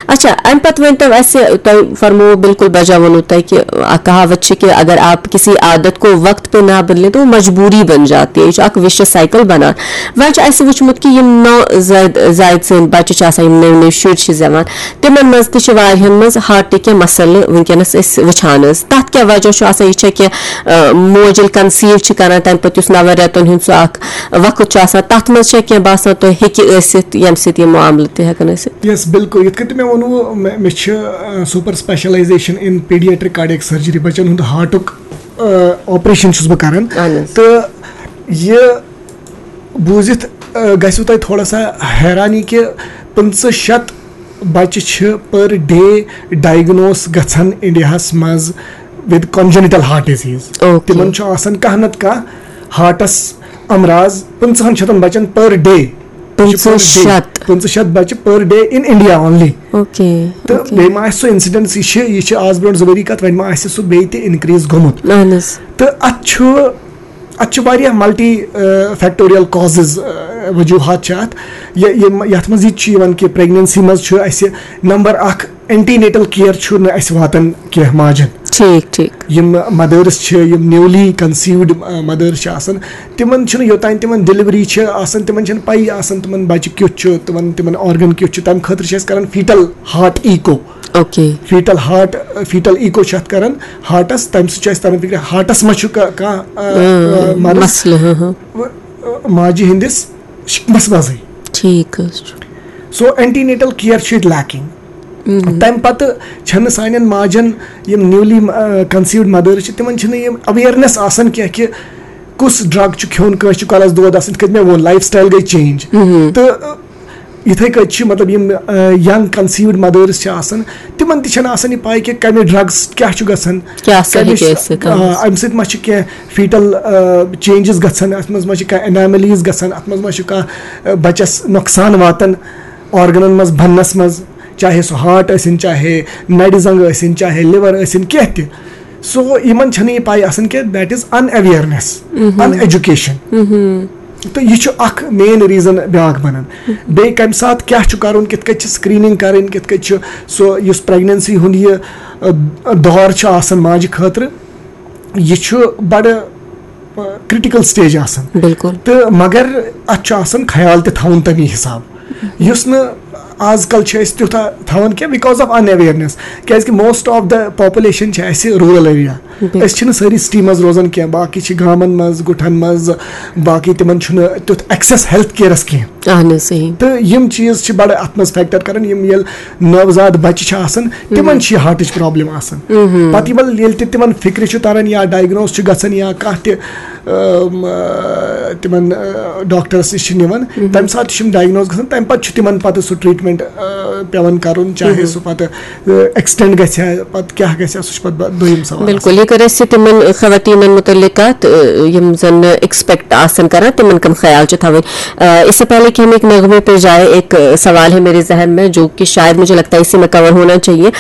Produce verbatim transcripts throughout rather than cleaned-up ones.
اچھا، امہِ پتہٕ ؤنۍ تو اسہِ، تۄہہِ فرموو بالکل بجا ووٚنوٕ تۄہہِ کہِ اکھ کہاوت چھِ کہِ اگر آپ کسی عادت کو وقت پہ نہ بدلیں تو وہ مجبوری بن جاتی ہے، یہِ چھُ اکھ وِشس سایکل بنان۔ وۄنۍ چھُ اسہِ وٕچھمُت کہِ یِم نو زاید زاید سٕنٛدۍ بچہِ چھِ آسان، یِم نٔوۍ نٔوۍ شُرۍ چھِ زٮ۪وان، تِمن منٛز تہِ چھِ واریاہن منٛز ہارٹٕکۍ کینٛہہ مسلہٕ وٕنکیٚنس أسۍ وٕچھان حظ۔ تتھ کیٛاہ وجہ چھُ آسان؟ یہِ چھا کینٛہہ، آ، موج ییٚلہِ کنسیو چھِ کران، تمہِ پتہٕ یُس نون رٮ۪تن ہُنٛد سُہ اکھ وقت چھُ آسان، تتھ منٛز چھا کینٛہہ باسان تۄہہِ ہیٚکہِ ٲسِتھ ییٚمہِ سۭتۍ یہِ معاملہٕ تہِ ہٮ۪کن ٲسِتھ؟ یس، بالکل۔ یِتھ کٔنۍ تہِ مےٚ ووٚنوُ، مےٚ مےٚ چھِ سوپر سپیشلائزیشن ان پیڈیاٹرک کارڈیک سرجری، بچن ہُنٛد ہارٹُک آپریشن چھُس بہٕ کران۔ اہن حظ۔ تہٕ یہِ بوٗزِتھ، آ، گژھِوٕ تۄہہِ تھوڑا سا حیرانی کہِ پٕنٛژٕہ شیٚتھ بچہِ چھِ پر ڈے ڈائگنوس گژھان انڈیاہس منٛز with congenital heart disease۔ Okay. تِمن چھُ آسان کانٛہہ نتہٕ کانٛہہ ہارٹس امراض پٕنٛژٕہن شیٚتن بچن پر ڈے۔ پٕنٛژٕہ شیٚتھ؟ پٕنٛژٕہ شیٚتھ بچہِ per day in India only۔ Okay, تہٕ اوکے۔ بیٚیہِ ما آسہِ سُہ انسیڈنس، یہِ چھِ، یہِ چھِ آز برونٛٹھ زٕ ؤری کتھ، وۄنۍ ما آسہِ سُہ بیٚیہِ تہِ انکریز گوٚمُت؟ اہن حظ۔ تہٕ اتھ چھُ، اتھ چھِ واریاہ ملٹی فیکٹوریل کازز، وجوہات چھِ اتھ۔ یہِ، یہِ، یتھ منٛز یہِ تہِ چھُ یِوان کہِ پریگننسی منٛز چھُ اسہِ نمبر اکھ، اینٹی نیٹل کیئر چھُ نہٕ اسہِ واتان کینٛہہ ماجن۔ ٹھیٖک، ٹھیٖک۔ یِم مدٲرٕس چھِ، یِم نیولی کنسیوڈ مدٲرٕس چھِ آسان، تِمن چھُنہٕ، یوٚتام تِمن ڈیلیوری چھِ آسان، تِمن چھَنہٕ پَیی آسان تِمن بچہِ کیُتھ چھُ، تِمن، تِمن آرگن کیُتھ چھُ۔ تَمہِ خٲطرٕ چھِ أسۍ کران fetal heart echo. Okay. Fetal heart, fetal echo چھِ اَتھ کران ہارٹس، تَمہِ سۭتۍ چھُ اَسہِ تران فِکرِ ہارٹس ما چھُ کا-، کانٛہہ، آ، آ، مرض۔ مسلہٕ، ہاں، ہاں۔ ماجہِ ہِنٛدِس شِکمس منٛزٕے۔ ٹھیٖک حظ چھُ۔ سو اینٹی نیٹل کیئر چھُ ییٚتہِ لیکنگ۔ تَمہِ پتہٕ چھَنہٕ سانٮ۪ن ماجن، یِم نیولی کنسیوڈ مدٲرٕس چھِ، تِمن چھِنہٕ یِم اویرنیس آسان کینٛہہ کہِ کُس ڈرگ چھُ کھیوٚن، کٲنٛسہِ چھُ کۄلس دود آسان، یِتھ کٔنۍ مےٚ ووٚن، لایف سٹایل گٔے چینج۔ تہٕ، آ، یِتھے کٔنۍ چھِ، مطلب، یِم ینگ کنسیوڈ مدٲرٕس چھِ آسان، تِمن تہِ چھَنہٕ آسان یہِ پاے کہِ کمہِ ڈرگس کیٛاہ چھُ گژھان، کیٛاہ سا کمِچ، ہیٚکہِ ٲسِتھ، آ، آ۔ امہِ سۭتۍ ما چھِ کینٛہہ فیٹل چینجز گژھان، اتھ منٛز ما چھِ کانٛہہ اناملیٖز گژھان، اتھ منٛز ما چھُ کانٛہہ، آ، بچس نۄقصان واتان آرگنن منٛز بننس منٛز، چاہے سُہ ہارٹ ٲسِن، چاہے نرِ زنٛگ ٲسِن، چاہے لِور ٲسِن، کینٛہہ تہِ۔ سو یِمن چھنہٕ یہِ پاے آسان کہِ that is unawareness، in education. تہٕ یہِ چھُ اکھ مین ریزن بیاکھ بنان۔ بیٚیہِ کمہِ ساتہٕ کیٛاہ چھُ کرُن، کِتھ کٔنۍ چھِ سکریننگ کرٕنۍ، کِتھ کٔنۍ چھُ سُہ یُس پریگننسی ہُنٛد یہِ، آ، دور چھُ آسان ماجہِ خٲطرٕ، یہِ چھُ بڑٕ، آ، کرٹیکل سٹیج آسان۔ بالکل۔ تہٕ مگر اتھ چھُ آسان خیال تہِ تھاوُن تمی حساب، یُس نہٕ آز کل چھِ أسۍ تیوٗتاہ تھاوان کینٛہہ because of unawareness۔ کیازِ کہِ most of the population چھِ اسہِ روٗرل ایریا۔ بالکل۔ أسۍ چھِنہٕ سٲری سٹی منٛز روزان کینٛہہ، باقٕے چھِ گامن منٛز، گُٹھن منٛز، باقٕے تِمن چھُنہٕ تیُتھ ایکسیس ہیلتھ کیئرس کینٛہہ۔ اہن حظ، صحیح۔ تہٕ یِم چیٖز چھِ بڑٕ اتھ منٛز فیکٹر کران، یِم ییٚلہِ نوزاد بچہِ چھِ آسان، تِمن چھِ یہِ ہارٹٕچ پرابلم آسان۔ پتہٕ یِمن ییٚلہِ تہِ تِمن فکرِ چھُ تران یا ڈائگنوز چھُ گژھان یا کانٛہہ تہِ، ٲم، آ، تِمن، آ، ڈاکٹرس نِش چھِ نِوان، تمہِ ساتہٕ تہِ چھِ یِم ڈائگنوز گژھان، تمہِ پتہٕ چھُ تِمن پتہٕ سُہ ٹریٹمنٹ، آ، پیوان کرُن، چاہے سُہ پتہٕ، آ، ایکسٹینڈ گژھِ ہا، پتہٕ کیٛاہ گژھِ ہا، سُہ چھُ پتہٕ با-، دوٚیِم سوال آسان۔ بالکل، یہِ کٔر اَسہِ تِمن خواتیٖنن مُتعلِق کتھ، آ، یِم زن ایکسپیکٹ آسن کران، تِمن کم خیال چھِ تھاوٕنۍ۔ آ، اس سے پہلے کہ ہم ایک نغمے پہ جائیں، ایک، آ، سوال ہے میرے ذہن میں، جو کہ شاید مجھے لگتا ہے اسی میں کور ہونا چاہیے۔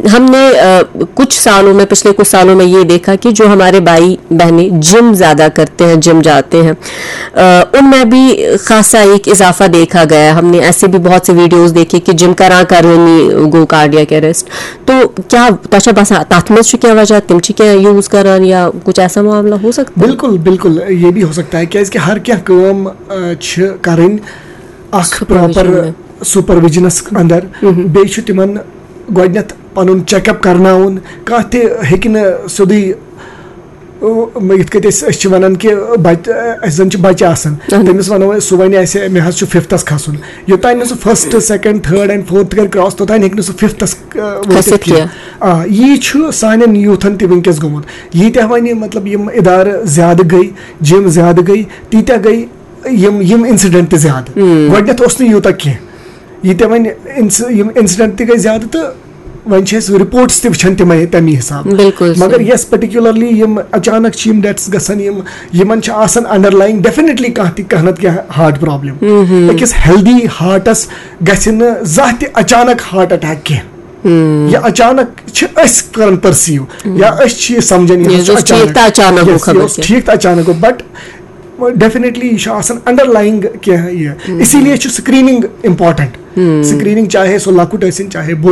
ہم نے، آ، کچھ سالوں میں، پچھلے کچھ سالوں میں یہ دیکھا کہ جو ہمارے بھائی بہنیں جم زیادہ کرتے ہیں، جم جاتے ہیں، آ، ان میں بھی خاصا ایک اضافہ دیکھا گیا ہے۔ ہم نے ایسے بھی بہت سے ویڈیوز دیکھے کہ جم کران کرٲنی گوٚو کارڈیک اریسٹ۔ تو کیا تۄہہِ چھا باسان تتھ منٛز چھُ کینٛہہ وجہ، تِم چھِ کینٛہہ یوٗز کران یا کچھ ایسا معاملہ ہو سکتا ہے؟ بالکل، بالکل، یہ بھی ہو سکتا ہے، کیازِ کہِ ہر کینٛہہ کٲم، آ، چھِ کرٕنۍ اکھ پراپر سپرویژن منٛز۔ سپرویژنس اندر۔ بیٚیہِ چھُ تِمن گۄڈٕنٮ۪تھ پنُن چیک اپ کرناوُن۔ کانٛہہ تہِ ہیٚکہِ نہٕ سیوٚدُے، یِتھ کٔنۍ أسۍ، أسۍ چھِ ونان کہِ بچ-، اسہِ زن چھِ بچہِ آسان، اہن۔ تٔمِس ونو أسۍ، سُہ ونہِ اسہِ، مےٚ حظ چھُ ففتھس کھسُن۔ یوٚتام نہٕ سُہ first, second, third and fourth کرِ کراس، توٚتام ہیٚکہِ نہٕ سُہ ففتھس، آ، وٲتِتھ کھٔسِتھ کینٛہہ۔ کینٛہہ۔ آ، یی چھُ سانٮ۪ن یوٗتھن تہِ وٕنکیٚس گوٚمُت۔ ییٖتیٛاہ وۄنۍ، مطلب، یِم ادارٕ زیادٕ گٔے، جم زیادٕ گٔے، تیٖتیٛاہ گٔے یِم، یِم انسیڈنٹ تہِ زیادٕ۔ گۄڈٕنٮ۪تھ اوس نہٕ یوٗتاہ کینٛہہ۔ ییٖتیٛاہ وۄنۍ انس-، یِم انسیڈنٹ تہِ گٔے زیادٕ تہٕ وۄنۍ چھِ أسۍ رپورٹس تہِ وٕچھان تِمے تمی حساب۔ بالکل مگر صحیح۔ یس پرٹیکولرلی یِم اچانک چھِ یِم ڈیتھس گژھان، یِم، یِمن چھِ آسان انڈرلایِنگ ڈیفینیٹلی کانٛہہ تہِ، کانٛہہ نتہٕ کانٛہہ ہارٹ پرابلم۔ أکِس ہیلدی ہارٹس گژھِ نہٕ زانٛہہ تہِ اچانک ہارٹ اٹیک کینٛہہ۔ یہِ اچانک چھِ أسۍ کران پرسیو یا أسۍ چھِ یہِ سمجھان، یہِ یہِ حظ چھُ اوس ٹھیٖک اچانک۔ تہٕ اچانک گوٚو Yes، یہِ خبر اوس کیٛاہ۔ ٹھیٖک تہٕ اچانک گوٚو، but ڈیفینیٹلی یہِ چھُ آسان انڈرلایِنگ کینٛہہ یہِ، اسی لیے چھُ سکریننگ امپورٹنٹ۔ سکریننگ چاہے سُہ لۄکُٹ ٲسِن چاہے بوٚڑ